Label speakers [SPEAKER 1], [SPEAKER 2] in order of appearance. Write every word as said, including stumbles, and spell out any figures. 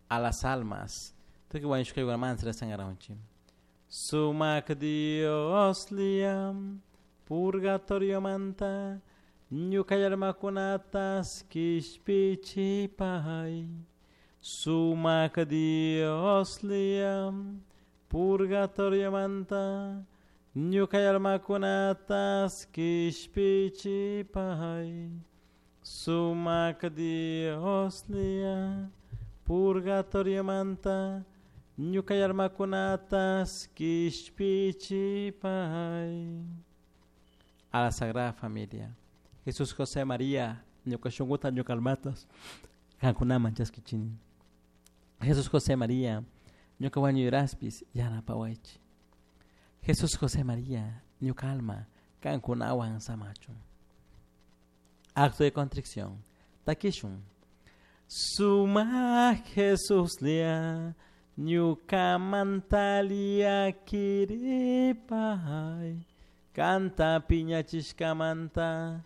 [SPEAKER 1] A las almas. Tukuy wañushkakunamanta rezangarunchik. Sumak Dioslla purgatoriomanta ñuka almakunatas kishpichipay. Sumak Dioslla purgatoriomanta ñuka almakunatas kishpichipay. Sumak Dioslla purgatoriomanta ñuka almakunatas kishpichipay. A la Sagrada Familia. Jesús, José, María, ñuka shunkuta ñuka almatas kankunaman chaskichini. Jesús, José, María, ñuka wañuyraspis yanapawaychik. Jesús, José, María, ñuka alma kankunawan samachun. Acto de contrición. Takishun. Sumak Jesuslla ñukamanta llaquiripay. Kanta piñachishkamanta